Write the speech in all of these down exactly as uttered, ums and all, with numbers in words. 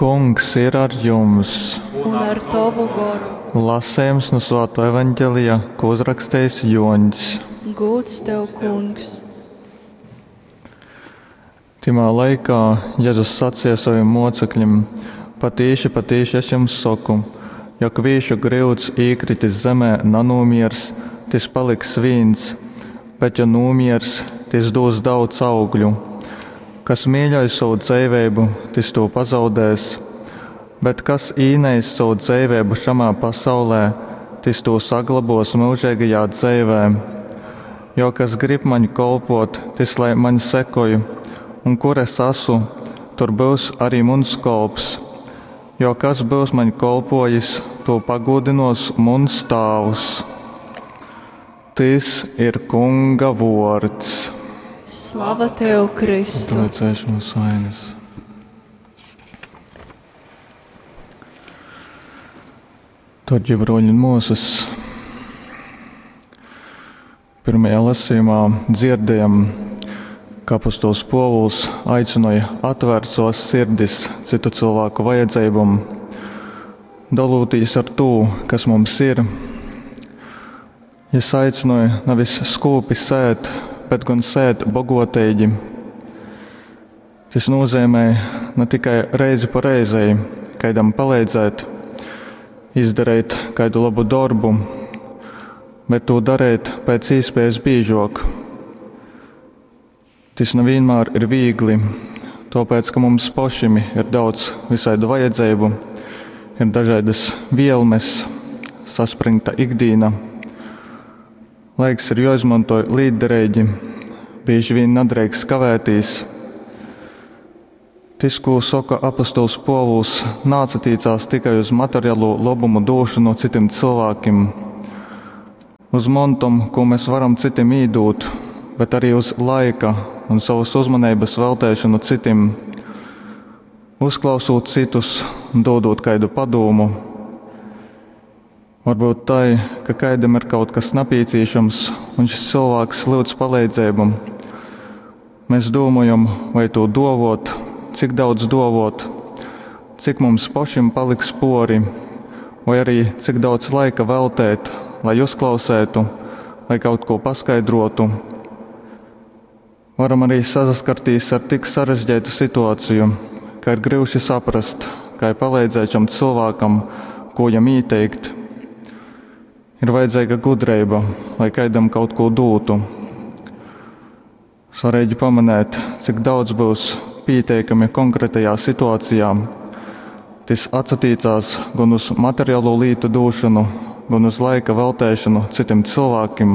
Kungs ir ar jums! Un ar tovu goru. Lasījums no Svāto evaņģelija, ko uzrakstījis Joņs. Gūds tev, Kungs! Timā laikā Jēzus sacīja saviem mocekļiem: Patīši, patīši es jums saku, ja kvīšu gryuds īkritis zemē nanūmiers, tis paliks vīns, bet ja nūmiers, tis dūs daudz augļu. Kas mīļoj savu dzeivību, tis to pazaudēs, bet kas īneis savu dzeivību šamā pasaulē, tis to saglabos mūžīgajā dzeivē. Jo kas grib maņ kolpot, tis lai maņ sekoj, un kur es esmu, tur būs arī muns kolps. Jo kas būs maņ kolpojis, to pagūdinos muns tāvs. Tis ir Kunga vords. Slava tev, Kristu! Lai cēš mūsu vainas. Darbie broļi un māsas, pirmajā lasījumā dzirdējam, ka apostols Pōvuls aicināja atvērt savas sirdis citu cilvēku vajadzībām, dalūtīs ar to, kas mums ir. Jis aicināja nevis skūpi sēt, bet gan sēt bogotīgi. Tas nozīmē ne tikai reizi pa reizei kādam palīdzēt, izdarīt kādu labu darbu, bet to darīt pēc iespējas biežāk. Tas ne vienmēr ir viegli, tāpēc, ka mums pašiem ir daudz visādu vajadzību, ir dažādas vielmes, saspringta ikdiena. Laiks ir jāizmanto līderīgi, bieži vien nedrīkst kavētīs. Tis, ko saka apostols Pōvuls, nācatīcās tikai uz materiālo labumu došanu citiem cilvēkiem, uz montam, ko mēs varam citiem īdūt, bet arī uz laika un savas uzmanības veltēšanu citiem, uzklausot citus un dodot kādu padomu. Varbūt tai, ka kādam ir kaut kas nepieciešams, un šis cilvēks lūdz palīdzību. Mēs domājam, vai to dovot, cik daudz dovot, cik mums pašiem paliks pori, vai arī cik daudz laika veltēt, lai uzklausētu, lai kaut ko paskaidrotu. Varam arī saskarties ar tik sarežģītu situāciju, ka ir grūti saprast, kā palīdzēt šam cilvēkam, ko jam ieteikt. Ir vajadzīga gudrība, lai kādam kaut ko dotu. Svarīgi pamanīt, cik daudz būs pieteikami konkrētajā situācijā. Tas atsatīcās gan uz materiālo lītu došanu, gan uz laika veltēšanu citiem cilvēkiem.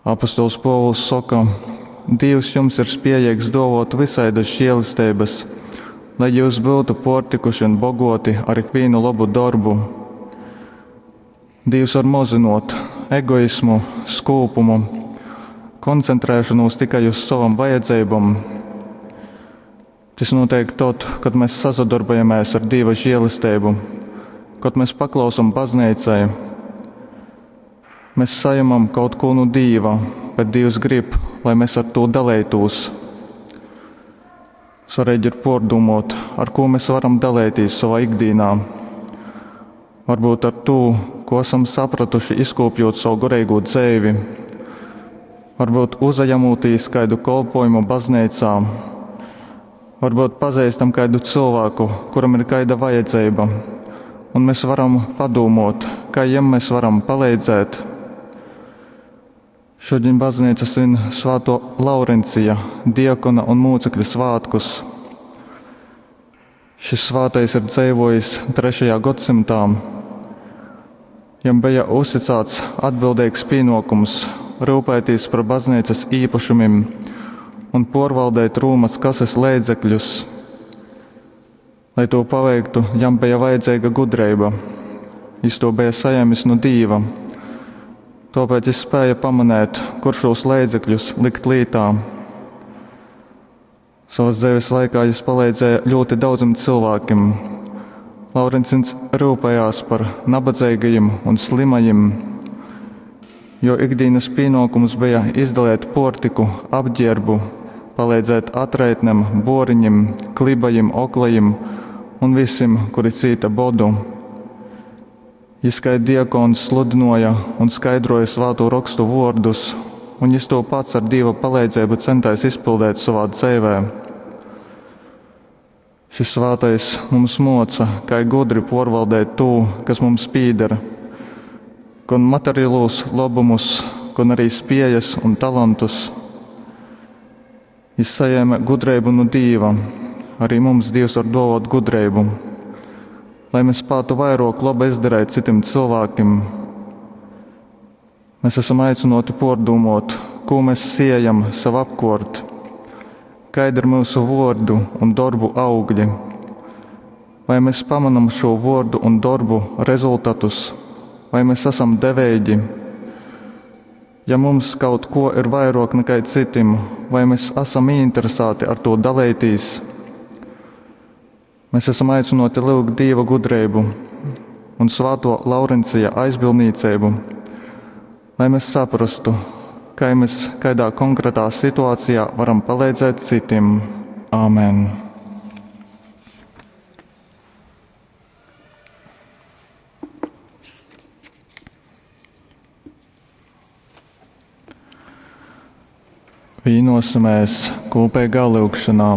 Apostols Pōvuls saka, Dievs jums ir spējīgs dovot visaidas žēlistības, lai jūs būtu portikuši un bogoti ar ikvienu labu darbu. Dievs var mozinot egoismu, skūpumu, koncentrēšanos tikai uz savam vajadzībām. Tas notiek tad, kad mēs sasadarbojamies ar Dieva žēlastību, kad mēs paklausam baznīcai. Mēs sajamam kaut ko no Dieva, bet Dievs grib, lai mēs ar to dalītos. Svarīgi ir pārdomot, ar ko mēs varam dalīties savā ikdienā. Varbūt ar to, ko esam sapratuši, izkopjot savu garīgo dzīvi. Varbūt uzajamotīs kādu kolpojumu baznīcā. Varbūt pazīstam kādu cilvēku, kuram ir kāda vajadzība, un mēs varam padomot, kā jiem mēs varam palīdzēt. Šodien baznīca svin Svēto Laurencija, diakona un mūcekļa svētkus. Šis svētais ir dzīvojis trešajā gadsimtā. Jam bija uzticēts atbildīgs pienākums rūpēties par baznīcas īpašumiem un pārvaldīt Rūmas kases līdzekļus. Lai to paveiktu, jam bija vajadzīga gudrība. Jis to bija saņēmis no Dieva. Tāpēc jis spēja pamanīt, kur šos līdzekļus likt lītā. Savas dzīves laikā jis palīdzēja ļoti daudziem cilvēkiem. Laurencins rūpējās par nabadzīgajiem un slimajiem, jo ikdienas pienākums bija izdalīt portiku, apģērbu, palīdzēt atraitnem, buoriņim, klibajim, oklajim un vysim, kuri cīte bodu. Jis kai diakons sludynuoja un skaidruoja Svātū Rokstu vuordus, un jis tū pats ar Dīva paleidzeibu centēs izpildēt sovā dzeivē. Šis svātais mums muoca, kai gudri puorvaldēt tū, kas mums pīder, gon materialūs lobumus, gon arī spiejas un talantus. Jis sajēme gudreibu nu Dīva. Arī mums Dīvs var duovot gudreibu, lai mēs spātu vairuok laba izdarēt cytim cylvākim. Mēs esam aicynuoti puordūmuot, kū mēs siejam sev apkuort, kaidi ir myusu vuordu un dorbu augļi. Vai mēs pamanam šo vuordu un dorbu rezultatus, vai mēs esam deveigi? Ja mums kaut ko ir vairuok nekai cytim, vai mēs esam ieinteresāti ar to daleitīs? Mēs esam aicynuoti lyugt Dīva gudreibu un Svāto Laurencija aizbildnīceibu, lai mēs saprastu, kai mēs kaidā konkrētā situācijā varam palīdzēt cytim. Āmen! Vīnosimies kopīgā lyugšanā.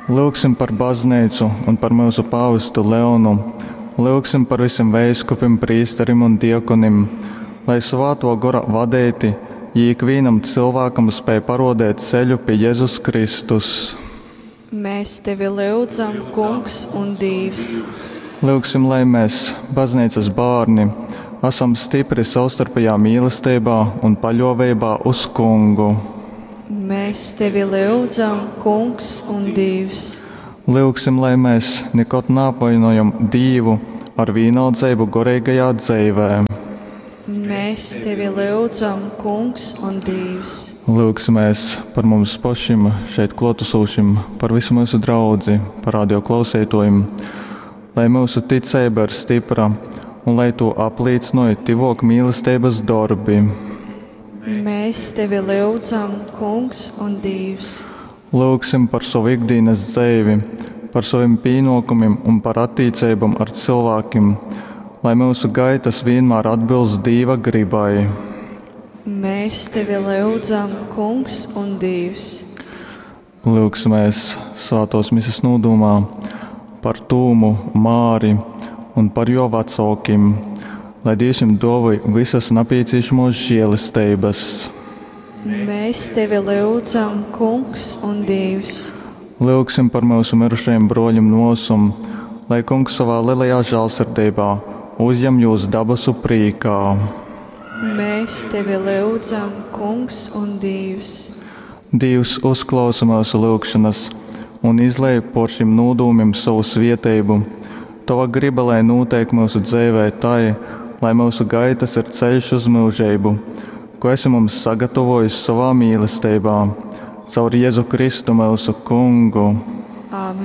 Lyugsim par baznīcu un par mūsu pāvestu Leonu. Lyugsim par visiem veiskupim, prīsterim un diakonim, lai Svāto Gora vadeiti, jī ikvīnam cilvēkam spēj parodēt ceļu pie Jēzus Kristus. Mēs tevi lyudzam, Kungs un Dievs. Lyugsim, lai mēs, baznīcas bārni, esam stipri savstarpējā mīlestībā un paļoveibā uz Kungu. Mēs tevi lyudzam, Kungs un Dievs. Lyugsim, lai mēs nekad neapvainojam Dīvu ar vienaldzeibu goreigajā dzeivē. Mēs tevi lyudzam, Kungs un Dievs. Lyugsimies par mums pašiem, šeit klotusošiem, par visu mūsu draudzi, par radio klausītājiem, lai mūsu ticība ir stipra un lai to apliecināja tivok mīlestības darbi. Mēs tevi lyudzam, Kungs un Dievs. Lūgsim par savu ikdienas dzīvi, par saviem pienākumiem un par attiecībām ar cilvēkiem, lai mūsu gaitas vienmēr atbilst Dieva gribai. Mēs tevi lyudzam, Kungs un Dievs. Lūgsimies svētos misas nūdumā par Tūmu, Māri un par jo vecākim, lai Dievs viņam dāvāj visas nepieciešamos žēlestības. Mēs tevi lyudzam, Kungs un Dievs. Lūgsim par mūsu mirušajiem broļiem nosum, lai Kungs savā lielajā žēlsirdībā uzņem jūs dabasu prīkā. Mēs tevi lyudzam, Kungs un Dievs. Dievs uzklausa mūsu lūgšanas un izlej por šim nūdūmim savu svieteibu. Tava griba, lai notiek mūsu dzīvē tai, lai mūsu gaitas ir ceļš uz mūžību, ko esi mums sagatavojis savā mīlestībā, caur Jēzu Kristu mūsu Kungu. Āmen.